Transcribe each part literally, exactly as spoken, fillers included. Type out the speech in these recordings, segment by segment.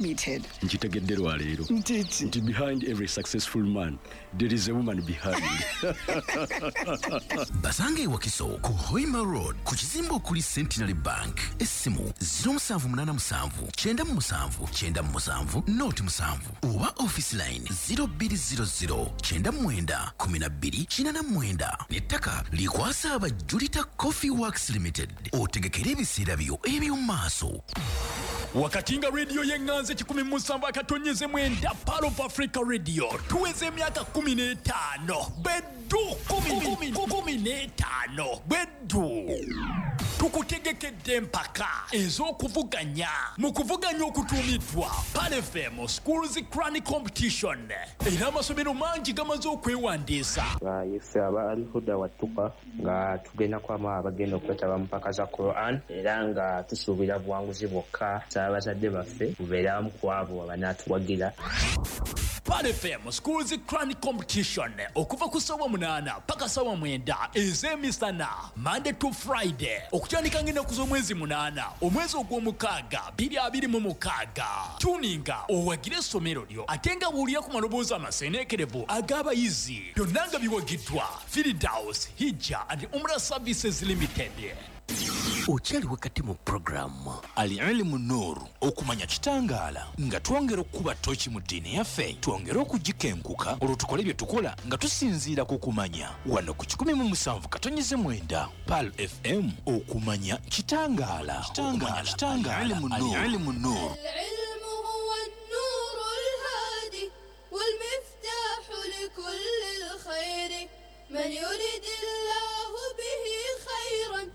Limited. Nkitegedde lwaleero Nti ki? Nti behind every successful man there is a woman behind. Basange Wakiso ku Hoima Road, ku kizimbe okuli Centenary Bank. Essimu zero seven eight seven nine seven nine seven seven oba office line zero two zero zero nine nine twelve eighty-nine. N'ettaka likwasa aba Julita Coffee Works Limited, otegekere ebiseera byo eby'omu maaso. Wakati nga rediyo y'eŋŋanzi ekikumi mu musanvu akatonyeze mwenda, Pearl of Africa Radio, tuweza emyaka kumi n'etaano beddu, kumi n'etaano beddu. Tukutegekedde empaka ez'okuvuganya mu kuvuganya okutuumiddwa Pearl F M Schools Quran Competition, era amasomero mangi gamaze okwewandiisa. Ife aba Alhuda Wattuka nga tugenda kwamu abagenda okwetaba mu mpaka za Quran, era nga tusuubira buwanguzi bwokka. Abazadde baffe bubeere abamu ku abo abanaatuwagira. Pearl F M Schools Quran Competition, okuva ku ssaawa munaana paka ssaawa mwenda ez'emisana, Monday to Friday, okutandika ng'ennaku z'omwezi munaana omwezi ogw'omukaaga bbiri abiri mu mukaaga. Tuninga owagire essomero lyo, ate nga buulira ku maloboozi amaseeneekerevu ag'abayizi. Byonna nga biwagiddwa Firdaus Hijja and Umrah Services Limited. Okyali wakati mu puroguramu Al Ilimu Nuuru, okumanya kitangaala, nga twongera okukuba toki mu ddiini yaffe, twongere okugikenkuka, olwo tukole bye tukola nga tusinziira ku kumanya. Wano ku kikumi mu musanvu katonyeze mwenda Pearl F M, okumanya kitangaala. Kitangaala. Al Ilimu Nuuru. العلم هو النور الهادي والمفتاح لكل الخير، من يرد الله به خيرا.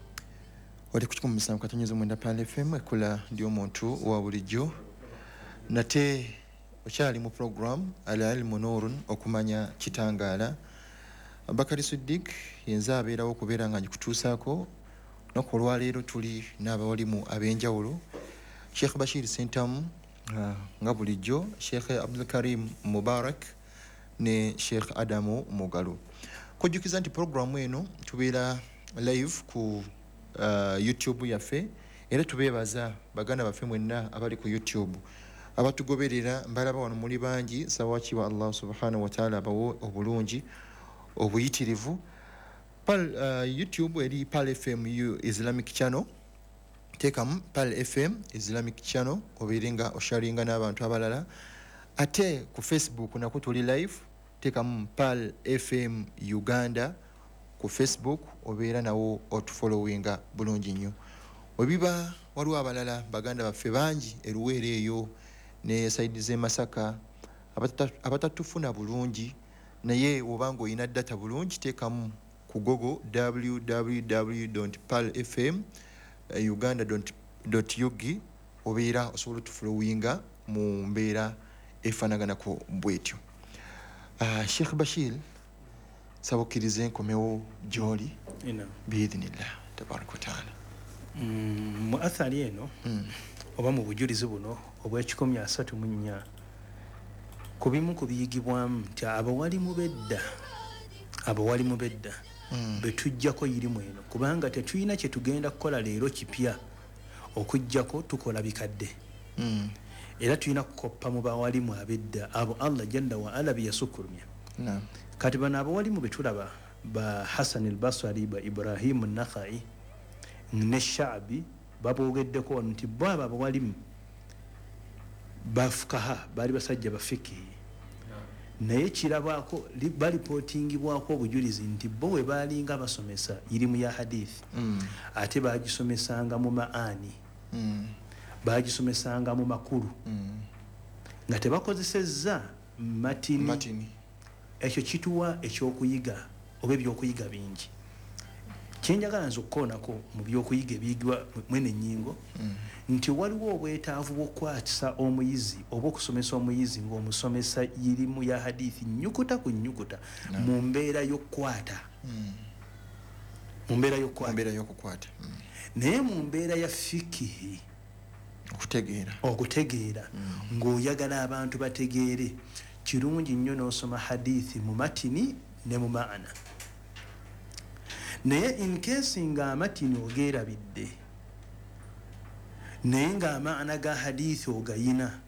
Oli ku kikumi musanvu katonyeza mwenda Pearl F M, ekkula ly'omuntu wa bulijjo. Nate okyali mu program Al Ilmu Nurun, okumanya kitangaala. Bakari Suddik yenze abeerawo okubeera nga ngikutuusaako. Lunaku olwaleero tuli n'abawalimu ab'enjawulo: Sheikh Bashir Sentamu, uh, nga bulijjo, Sheikh Abdulkarim Mubarak ne Sheikh Adamu Mugalu. Kujjukiza nti programu eno tubeera live ku uh, YouTube yaffe, era tubeebaza baganda baffe mwenna abali ku YouTube abatugoberera. Mbalaba wano muli bangi. Sawakiwa Allah subhanahu wataala abawe obulungi obuyitirivu. Pal, uh, YouTube eri Pearl F M U Islamic Channel. Teekamu Pearl F M Islamic Channel obeere nga osharinga n'abantu abalala. Ate ku Facebook nakwo tuli live. Teekamu Pearl F M Uganda ku Facebook, obeera nawo otufollowinga bulungi nnyo. Webiba waliwo abalala baganda baffe bangi eruweero eyo ne side z'e Masaka abatatufuna bulungi, naye obanga olina data bulungi, teekamu ku Google W W W pearl F M uganda ug, obeera osobola otufollowinga mu mbeera efaanaganako bwetyo. uh, sheikh Bashir, saba okkirize nkomewo gy'oli biidhinillah tabaraka wataala. Mm, mu athari eno mm. oba mu bujulizi buno obw'ekikumi asatu mu nnya, ku bimu ku biyigibwamu nti abawalimu bedda abawalimu bedda mm. betujjako irimu eno, kubanga tetulina kye tugenda kukola leero kipya okujjako tukola bikadde. mm. Era tulina kukoppa mu bawalimu abedda abo Allah jalla wa ala biyasukulumya. Naam. Kati bano abawalimu betulaba, ba Hasan al-Basri, ba Ibrahim an-Nakhai ne Shaabi, babogeddeko wano nti bo abo abawalimu bafukaha, baali basajja bafikihi, naye kirabwako, balipootingibwako obujulizi nti bo bwe baalinga basomesa irimu ya hadithi, mm. ate bagisomesanga mu maani, mm. bagisomesanga mu makulu, mm. nga tebakozesezza matini. Matini. Ekyo kituwa ekyokuyiga oba ebyokuyiga bingi. Kyenjagala nze okukoonako mu byokuyiga ebiyigibwa mwene ennyingo, mm. nti waliwo obwetaavu bw'okukwatisa omuyizi oba okusomesa omuyizi ng'omusomesa irimu ya hadithi nnyukuta ku nnyukuta mu mbeera y'okukwata, mm. mu mbeera y'okukwata, Mu mbeera y'okukwata. mm. Naye mu mbeera ya fikihi, okutegeera, okutegeera, mm. ng'oyagala abantu bategeere, kirungi nnyo n'osoma hadithi mu matini ne mu maana. Naye in case nga amatini ogeerabidde, naye ng'amaana ga hadithi ogayina,